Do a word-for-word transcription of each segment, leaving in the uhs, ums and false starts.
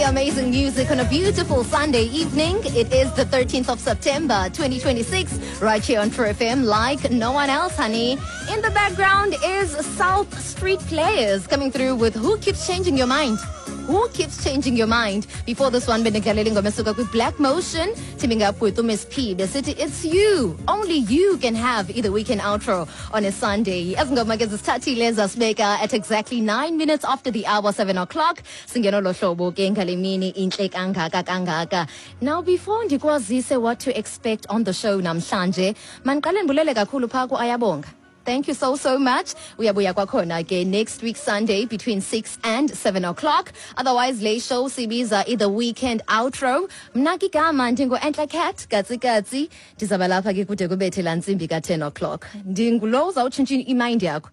Amazing music on a beautiful Sunday evening. It is the thirteenth of September twenty twenty-six, right here on True F M, like no one else, honey. In the background is South Street Players coming through with "Who Keeps Changing Your Mind?" Who Keeps Changing Your Mind? Before this one, bendikudlalela ingoma esuka kwi-Black Motion, teaming up with Miss P. Besithi "It's You." Only you can have either weekend outro on a Sunday. Ezi ngoma ke zisithathile zasibeka at exactly nine minutes after the hour, seven o'clock. Singeno lo hlobo ke ngale mini intle kangaka kangaka. Now, before ndikwazise what to expect on the show namhlanje, mandiqale ndibulele kakhulu phaa ku-Ayabonga. Thank you so, so much. Uyabuya kwakhona ke next week Sunday between six and seven o'clock. Otherwise, le show sibiza i-The Weekend Outro. Mna ke igama ndingu-Entla Cat, Katsi Katsi. Ndizaba lapha ke kude kubethe laa ntsimbi ka-ten o'clock. Ndingulo uzawutshintsha imind yakho.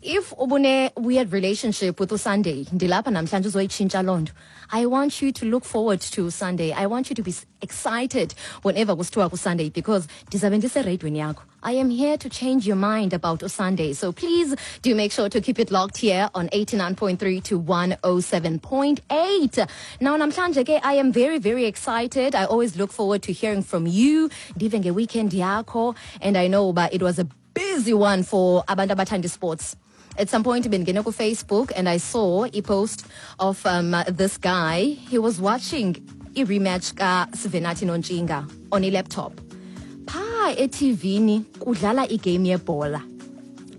If ubune weird relationship with uSunday, ndilapha namhlanje uzoyitshintsha loo nto. I want you to look forward to Sunday. I want you to be excited whenever kusithiwa kuSunday because ndizabe ndisereyidweni yakho. I am here to change your mind about Sunday. So please do make sure to keep it locked here on eighty-nine point three to one oh seven point eight. Now, namhlanje ke, I am very, very excited. I always look forward to hearing from you. Ndive ngeweekend yakho. And I know but it was a busy one for abantu abathanda sports. At some point bendingene ku-Facebook and I saw a post of um, this guy. He was watching i-rematch kaSivenathi Nontshinga on a laptop. Phaa ethivini kudlala igame yebhola,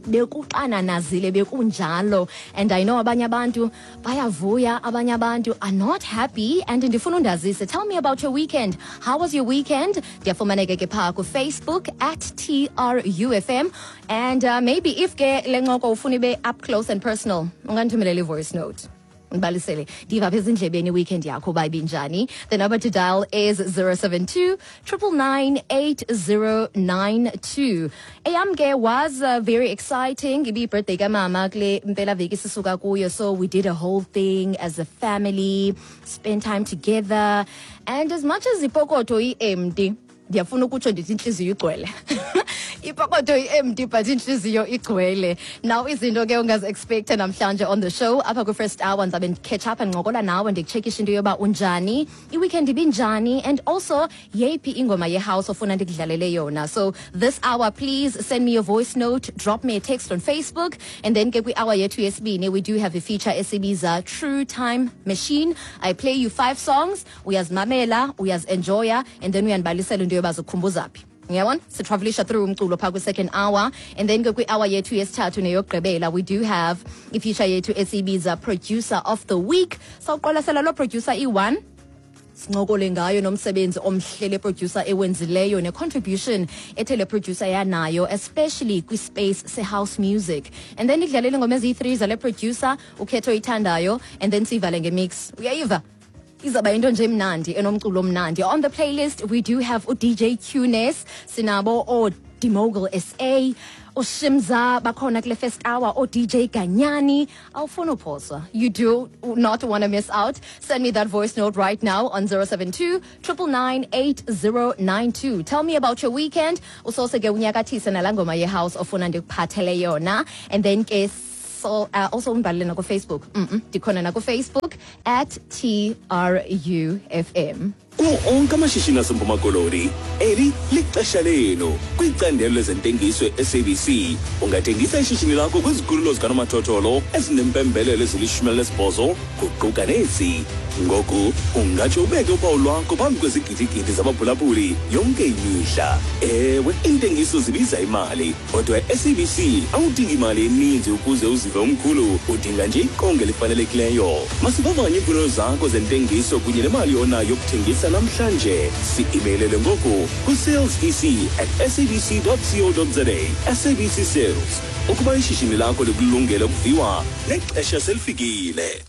bekuxananazile, bekunjalo. And I know abanye abantu bayavuya, abanye abantu are not happy, and ndifuna undazise. Tell me about your weekend. How was your weekend? Ndiyafumaneka ke phaa kuFacebook at T R U F M. And uh, maybe if ke le ncoko ufuna ibe up close and personal, ungandithumelela i-voice note, ndibalisele, ndiva apha ezindlebeni iweekend yakho uba ibinjani. The number to dial is zero seven two nine nine nine eight zero nine two. Eyam ke was uh, very exciting. Ibiyi-birthday kamama kule mpelaveki sisuka kuyo, so we did a whole thing as a family, spend time together. And as much as ipokotho i-empty, ndiyafuna ukutsho ndithi intliziyo igcwele. Ipokotho i-empty but intliziyo igcwele. Now, izinto ke ongazi-expecta namhlanje on the show, apha kwi-first hour ndizabe ndicatch up, ndincokola nawe, ndikucheckisha into yoba unjani, iweekend ibinjani, and also yeyiphi ingoma yehouse ofuna ndikudlalele yona. So this hour, please send me your voice note, drop me a text on Facebook. And then ke kwi-hour yethu yesibini, we do have a feature esibiza True Time Machine. I play you five songs, uyazimamela, uyazi-enjoya, and then uyandibalisela into yoba zikukhumbuza phi. Uyabona, sitravelisha through umculo phaa kwi-second hour. And then ke kwi-hour yethu yesithathu neyokugqibela, we do have ifeature yethu esiyibiza Producer of the Week. Sawuqwalasela loo producer iyi-one, sincokole ngayo nomsebenzi omhle le producer ewenzileyo ne-contribution ethe le producer yanayo, especially kwi-space se-house music. And then idlalele ingoma eziyi-three zale producer, ukhetho oyithandayo, and then siyivale ngemix. Uyayiva, izaba into nje emnandi, enomculo omnandi. On the playlist we do have u-D J Qnes, sinabo o-Demogul S A, uShimza bakhona kule first hour, o-D J Ganyani. Awufuna uphoswa. You do not want to miss out. Send me that voice note right now on zero seven two nine nine nine eight zero nine two. Tell me about your weekend. Usose ke unyakathise nalaa ngoma yehouse ofuna ndikuphathele yona. And then ke so uh, also undibhalele nakuFacebook. mm -mm, ndikhona nakuFacebook at T R U F M. Kuwo onke amashishini aseMpuma Koloni, eli lixesha lenu kwicandelo lezentengiso e-S A B C. Ungathengisa ishishini lakho kwizikhululo zikanomathotholo ezinempembelelo ezilishumi elinesibhozo, kuquka nezi. Ngoku ungatsho ubeke uphawu lwakho phambi kwezigidigidi zabaphulaphuli yonke imihla. Ewe, iintengiso zibiza imali, kodwa e-S A B C awudingi imali eninzi ukuze uzive umkhulu, udinga nje iqonga elifanelekileyo. Masivavanye iimfuno zakho zentengiso kunye nemali onayo yokuthengisa namhlanje. Si-emailele ngoku ku-sales E C at S A B C dot co dot za. S A B C Sales, ukuba ishishini lakho likulungele ukuviwa, nexesha selifikile.